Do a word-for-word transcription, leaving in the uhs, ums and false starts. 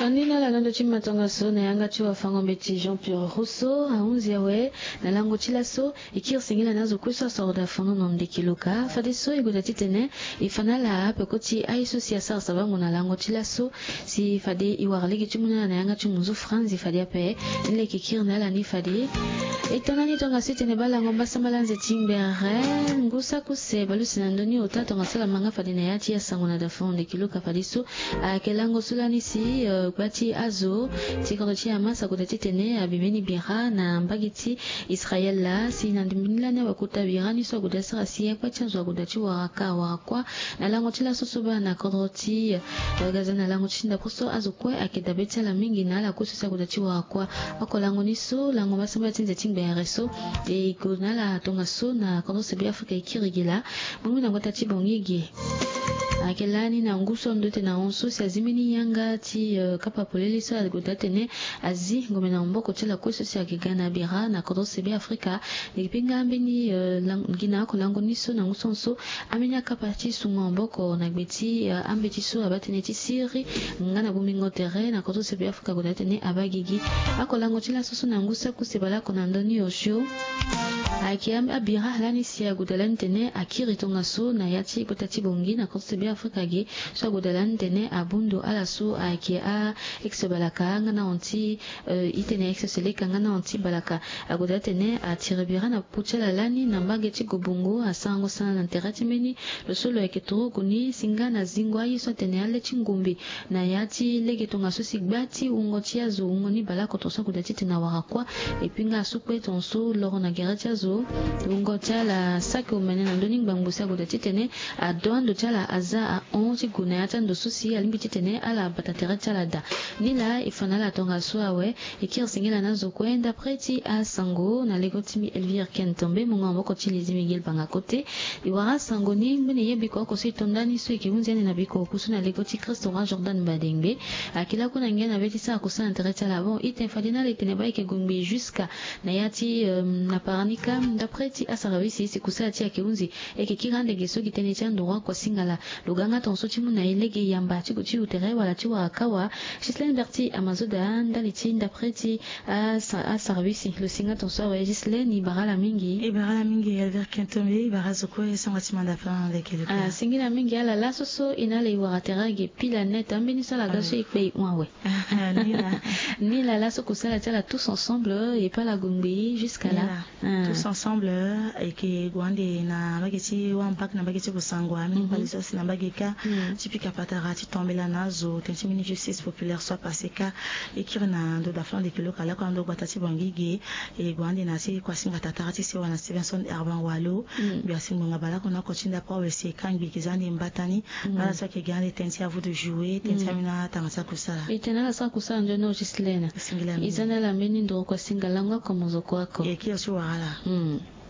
Andi na ala na ndo ti matongaso na yanga ti wafango-mbeti Jean Pierre Rousseau ahunzi awe. Na lango ti laso e kiri singila na azo kue so asoro da fono na ndeke luka fadeso e goda titene e fa na ala peko ti aye so si asara sabango na lango ti laso. Si fade e wara lege ti mu na ala na yanga ti munzu franzi fade ape. Ni leke kiri na ala ni fade e tona ni tongaso e tene balango mbasambala nze ti ngbere ngu sako se balusi na ndoni ota tongaso ala manga fade na ya ti asango na da fono ndeke luka fadeso. Ayeke lango so lani si gba ti azo ti kodro ti Hamas agoda titene abi mbeni bira na mbage ti Israel laa si na ndimbi ni lani awe kota bira ni so agoda sara si akpa ti azo agoda ti wara ka wara kuâ. Na lango ti laso so baa na kodro ti Gaza na lango ti ndapre so azo kue ayeke dabe ti ala mingi na ala kue so si agoda ti wara kuâ. Oko lango ni so lango mbasambala ti nze ti ngbere so e gue na ala tongaso na kodro se be Afrika e kiri gi laa. Bongbi na gbata ti Bangui ge. Ayeke lani na ngu so ando tene na hon so si azi mbeni yanga ti kapa polele so agoda atene azi ngombe na maboko ti ala kue so si ayeke ga na bira na kodro se be Afrika. Leke pe nga mbeni gi na oko lango ni so na ngu so so ambeni akapa ti sungo maboko na gbe ti ambeti so abaa tënë ti siri nga na bongbingo tere na kodro se be Afrika agoda atene abaa gigi. Oko lango ti laso so na ngu sako se baleoko na ndö ni osio. Ayeke abira lani si agoda lani tene akiri tongaso na ya ti kota ti Bangui na kodro se be Afrika ge so agoda lani tene abundu ala so ayeke a ex balaka nga na hon ti e tene ex seleka nga na hon ti balaka. Agoda atene atiri bira na popo ti ala lani na mbage ti Gobongo asarango sana na tere ti mbeni lo so lo yeke turugu ni si nga na zingo aye so atene ale ti ngombe na ya ti lege tongaso si gba ti wungo ti azo wungo ni baleoko tongaso agoda titene awara kuâ. Epui nga asu kue tongaso loro na gere ti azo wungo ti ala saki omene na ndö ni ngbangbo si agoda titene ado ando ti ala aza ahon ti gue na ya ti ando so si alingbi titene ala bata tere ti ala daa. Nilaa e fa na ala tongaso awe. E kiri singila na azo kue ndapre ti asango na lego ti mbi Elvire Ken Tombe mungo maboko ti Lydie Miguel Banga Kote. E wara asango ni ngbene ye biko oko so e to ndani so e yeke hunzi ande na biko oku so na lego ti Christ Roi Jordan Badengbe. Ayeke lakue na ngia na be ti sara kusala na tere ti ala bon ite fade na ala e tene baa e yeke gue ngbii jusqu'à na ya ti na paranika ndapre ti asarabisi si kusala ti e ayeke hunzi. E yeke kiri ande ge so gi tënë ti anduru akua singala. Lo ga nga tongaso ti mu na e lege yamba ti gue ti yu tere wala ti wara kawa. Ghislaine Berti Amazoda ndali ti ndapre ti asarabisi lo si nga tongaso awe Ghislaine e bara ala mingi. E bara ala mingi Elvire Ken Tombe e bara azo kue e sangua ti manda plan leke leke. Singila mingi ala laso so e na ala e wara tere age pila net ambeni so ala ga so e kpe e hon awe. Nilaa laso kusala ti ala tous ensemble e pe ala gue ngbii jusqu'à là. Tous ensemble e yeke gue ande na mbage ti wampak na mbage ti Bossangoa ambeni kpale so asi na mbage kâ ti pika patara ti tombela na azo tënë ti mbeni justice populaire so apasse kâ. E kiri na ndo daflan de kilo kalako na ndo gbata ti Bangui ge. E gue ande na ti kuasinga tatara ti sewa na Stevenson Herban Walo. Mbi asi ngbonga baleoko na oko ti ndapre awe si e kâ ngbii e ke za ande mbata ni. Ala so ayeke ga ande tënë ti avu de jouer tënë ti ambeni atanga ti akusala. E tene ala sara kusala nzoni o Ghislaine. E za na ala mbeni nduru kuasinga lango oko mozo kue oko. E kiri ti wara ala.